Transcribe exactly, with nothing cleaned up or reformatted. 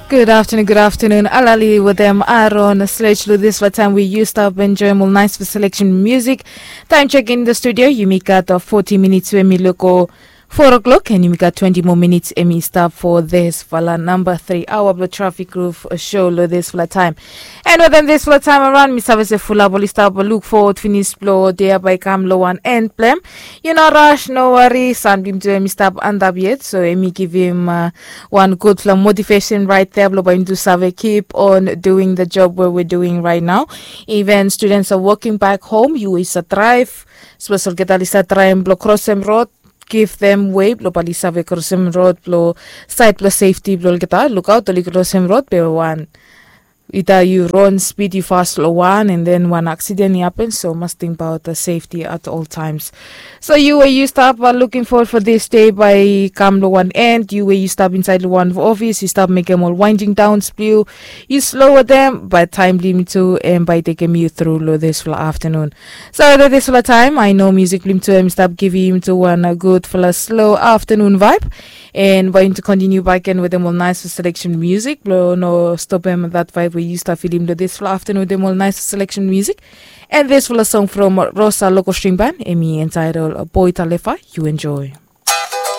Good afternoon, good afternoon. Alali wetem Aaron Sledge lo disfala taem we yu stap enjoem ol naesfala seleksen musik. Taem chek in the studio, yumi gat foti minits we mi luko four o'clock, and yumi gat twenti moa minits, and mi stap fo disfala namba tri aoa blo Trafik Groove show lo disfala taem. And wetem disfala taem araon, mi save se fulap oli stap luk fowod finis blo dei bae i kam lo wan en blem. Yu no ras, no wari, san blim tu em i stap antap yet, so em i givim wan gudfala motivesen raet dea blo bae yumi tu save keep on doing the job we we doing raet nao. Even students are walking back home, yu we yu save draev, sapos olgeta oli save traem blo krosem rod, givdem wei blo bae oli save krosem rod blo saed blo sefti blo olgeta. Lukaot, oli krosem rod be wan, ida yu ron spid yu fas lo wan, and then wan aksiden i hapen, so mas tingbaot the safety at all times. So yu we yu stap luking fowod fo this day bae i kam lo wan en, yu we yu stap insaed lo wan ofis, yu stap mekem ol waending daons blo yu, yu slo wetem, bae taem blim yu tu em bae i tekem yu tru lo disfala aftanun. So lo disfala taem, I know musik blim tu em i stap givim yu tu wan gudfala slo aftanun vaeb. And bae yumi tu kontiniu bakegen wetem ol naes seleksen musik blo no stopem that vibe we yu stap filim lo disfala aftanun wetem ol naes seleksen musik. And disfala song from Rosa Local String Band, em i entitled Boy Talefa, yu enjoy.